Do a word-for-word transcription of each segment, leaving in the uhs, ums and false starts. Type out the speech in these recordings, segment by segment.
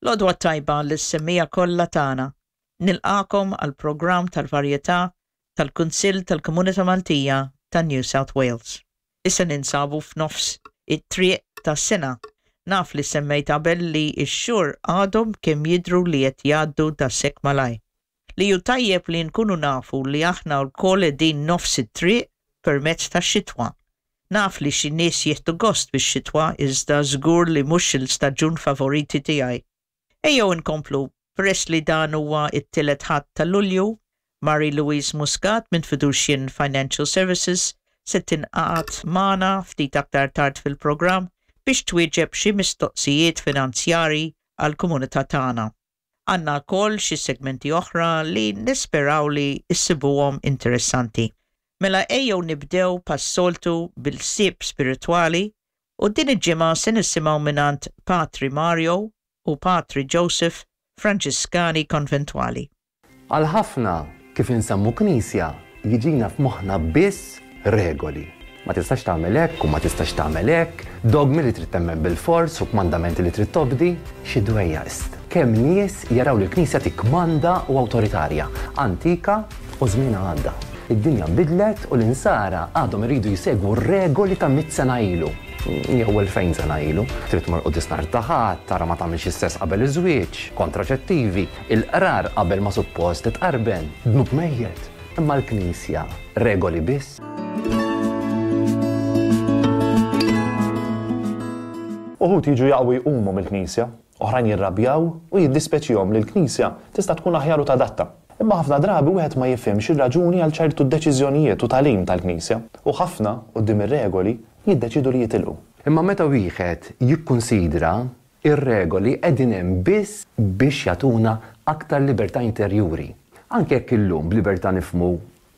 L-għodwa t-tajba lis-semmiegħa kollha tagħna. Nilqagħkom għall-programm tal-varjetà tal-Kunsill tal-Komunità Maltija ta' New South Wales. Issa ninsabu f'nofs it-triq tas-sena. Naf li semmejt qabel li x-xhur għadhom kemm jidhru li qed jgħaddu daqshekk malajr. Li hu tajjeb li nkunu nafu li aħna lkoll qegħdin nofs it-triq permezz tax-xitwa. Naf li xi nies jieħdu gost bix-xitwa, iżda żgur li mhux il-staġun favoriti tiegħi. Ejjew inkomplu, peress li dan huwa it-tielet Ħadd ta' Lulju, Marie Louise Muscat minn Fiducian Financial Services se tingħaqad magħna ftit aktar tard fil-programm biex twieġeb xi mistoqsijiet finanzjari għall-komunità tagħna. Għandna wkoll xi segmenti oħra li nisperaw li issibuhom interessanti. Mela ejjew nibdew bħas-soltu bil-ħsieb spiritwali u din il-ġimgħa se nisimgħu mingħand Patri Mario u Patri Joseph, Franġiskani Konventwali. Għal ħafna, kif insemmu knisja, jiġina f'moħħna biss regoli. Ma tistax tagħmel hekk u ma tistax tagħmel hekk, dogmi li trid temmen bil-fors u kmandamenti li trid tobdi, xi dwejjaq ist. Kemm nies jaraw li l-Knisja tikkmanda u awtoritarja, antika u żmien għadda. Id-dinja nbidlet u l-insara għadhom iridu jsegwu regoli ta' mitt sena ilu. Jew elfejn sena ilu. Trid tmur quddies nhar ta' Ħadd, tara ma tagħmilx is-sess qabel iż-żwieġ, kontraċettivi, il-qrar qabel ma suppost titqarben, dnub mejjet. Imma l-Knisja regoli biss. Uħud jiġu jaqgħu jqumu mill-Knisja, oħrajn jirrabjaw u jiddispeċihom li l-Knisja tista' tkun aħjar u tadatta. Imma ħafna drabi wieħed ma jifhimx ir-raġuni għal ċertu deċiżjonijiet u tagħlim tal-Knisja, u ħafna quddiem ir-regoli jiddeċidu li jitilqu. Imma meta wieħed jikkunsidra, ir-regoli qegħdin hemm biss biex jagħtuna aktar libertà interjuri. Anke jekk illum b'libertà nifhmu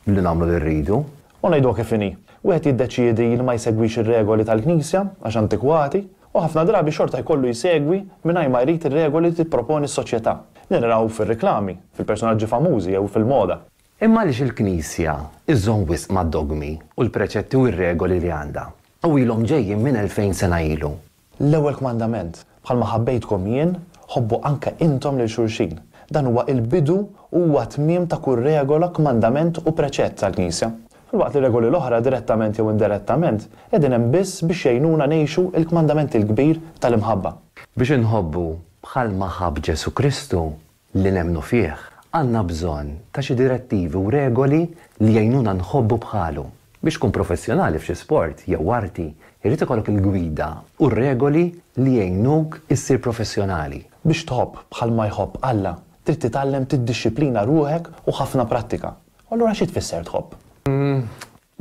li nagħmlu li rridu. U ngħidu kif inhi, wieħed jiddeċiedi li ma jsegwix ir-regoli tal-Knisja għax antikwati, u ħafna drabi xorta jkollu jsegwi mingħajr ma jrid ir-regoli li tipproponi s-soċjetà. Li naraw fir-reklami, fil-personaġġi famużi jew fil-moda. Imma għaliex il-Knisja iżżomm wisq mad-dogmi u l-preċetti u r-regoli li għandha? U ilhom ġejjin minn elfejn sena ilu. L-ewwel kmandament, bħalma ħabbejtkom jien, ħobbu anke intom lil xulxin. Dan huwa il-bidu u huwa tmiem ta' kull regola, kmandament u preċett tal-Knisja. Filwaqt li regoli l-oħra direttament jew indirettament qegħdin hemm biss biex jgħinuna ngħixu il-kmandament il-kbir tal-imħabba. Biex inħobbu bħalma ħabb Ġesu Kristu li nemmnu fih, għandna bżonn ta' xi direttivi u regoli li jgħinuna nħobbu bħalu. Biex tkun professjonali f'xi sport jew arti, irid ikollok il-gwida u r-regoli li jgħinuk issir professjonali. Biex tħobb bħalma jħobb Alla, trid titgħallem tiddixxiplina ruħek u ħafna prattika. U allura xi tfisser tħobb? Mm,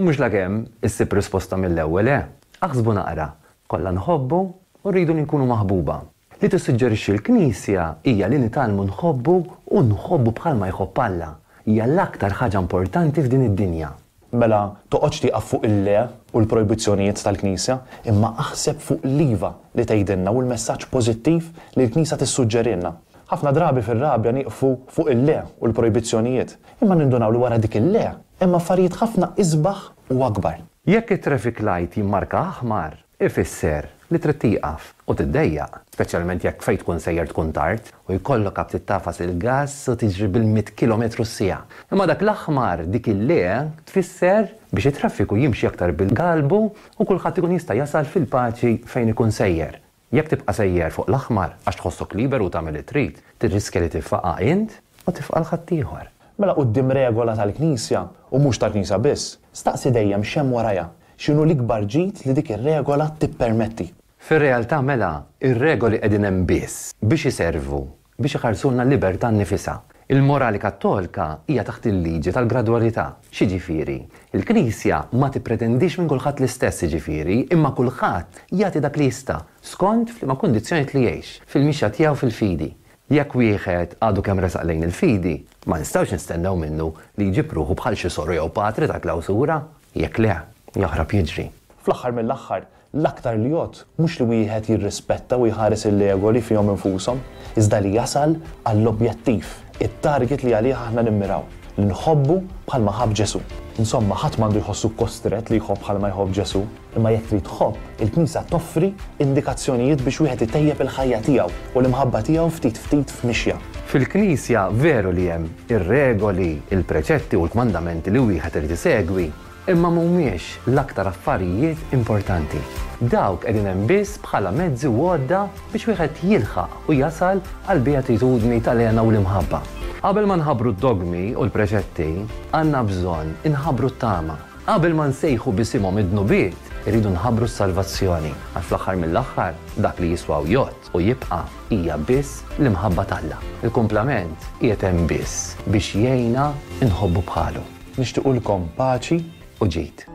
mhux lakemm issib risposta mill-ewwel, eh? Aħsbu naqra, kollha nħobbu u rridu li nkunu maħbuba. Li tissuġġerixxi l-Knisja hija li nitgħallmu nħobbu u nħobbu bħalma jħobb Alla. Hija l-aktar ħaġa importanti f'din id-dinja. Mela toqgħodx tieqaf fuq il-le u l-projbizzjonijiet tal-Knisja, imma aħseb fuq l-iva li tgħidilna u l-messaġġ pożittiv li l-Knisja tissuġġerilna. Ħafna drabi fir-rabja nieqfu fuq il-le u l-projbizzjonijiet, imma nindunaw li wara dik il-le hemm affarijiet ħafna isbaħ u akbar. Jekk it-traffic light jimmarka aħmar, ifisser li trid tieqaf u tiddejjaq, speċjalment jekk fejn tkun sejjer tkun tard u jkollok aptit tagħfas il-gass u tiġri bil-mitt kilometru s-siegħa. Imma dak l-aħmar, dik il-le, tfisser biex it-traffiku jimxi aktar bil-galbu u kulħadd ikun jista' jasal fil-paċi fejn ikun sejjer. Jekk tibqa' sejjer fuq l-aħmar għax tħossok liberu u tagħmel li trid, tirriskja li tiffaqa' int u tifqa' l-ħaddieħor. Mela quddiem regola tal-Knisja, u mhux tal-Knisja biss, staqsi dejjem x'hemm warajha, x'inhu l-ikbar ġid li dik ir-regola tippermetti. Fir-realtà mela, ir-regoli qegħdin hemm biss biex iservu, biex iħarsulna l-libertà nnifisha. Il-morali kattolika hija taħt il-liġi tal-gradwalità. X'jiġifieri? Il-Knisja ma tippretendix minn kulħadd l-istess jiġifieri, imma kulħadd jagħti dak li jista' skont f'liema kundizzjonijiet li jgħix, fil-mixja tiegħu fil-fidi. Jekk wieħed għadu kemm resaq lejn il-fidi, ma nistgħux nistennew minnu li jġib ruħu bħal xi soru jew patri ta' klawsura. Jekk le, jaħrab jiġri. Fl-aħħar mill-aħħar, l-aktar li jgħodd mhux li wieħed jirrispetta u jħares il-regoli fihom infushom, iżda li jasal għall-objettiv, it-target li għalih aħna nimmiraw, li nħobbu bħalma ħabb Ġesu. Insomma, ħadd m'għandu jħossu kostret li jħobb bħalma jħobb Ġesù, imma jekk trid tħobb, il-Knisja toffri indikazzjonijiet biex wieħed itejjeb il-ħajja tiegħu u l-imħabba tiegħu ftit ftit f'mixja. Fil-Knisja veru li hemm ir-regoli, il-preċetti u l-kmandamenti li wieħed irid isegwi, imma mhumiex l-aktar affarijiet importanti. Dawk qegħdin hemm biss bħala mezzi u għodda biex wieħed jilħaq u jasal għal beatitudni tal-hena u l-imħabba. Qabel ma nħabbru d-dogmi u l-preċetti, għandna bżonn inħabbru t-tama. Qabel ma nsejħu b'isimhom id-dnubiet, irridu nħabbru s-salvazzjoni. Għax fl-aħħar mill-aħħar, dak li jiswa u jgħodd u jibqa' hija biss l-imħabba t'Alla. Il-kumplament qiegħed hemm biss biex jgħinna nħobbu bħalu. Nixtiequlkom paċi u ġid.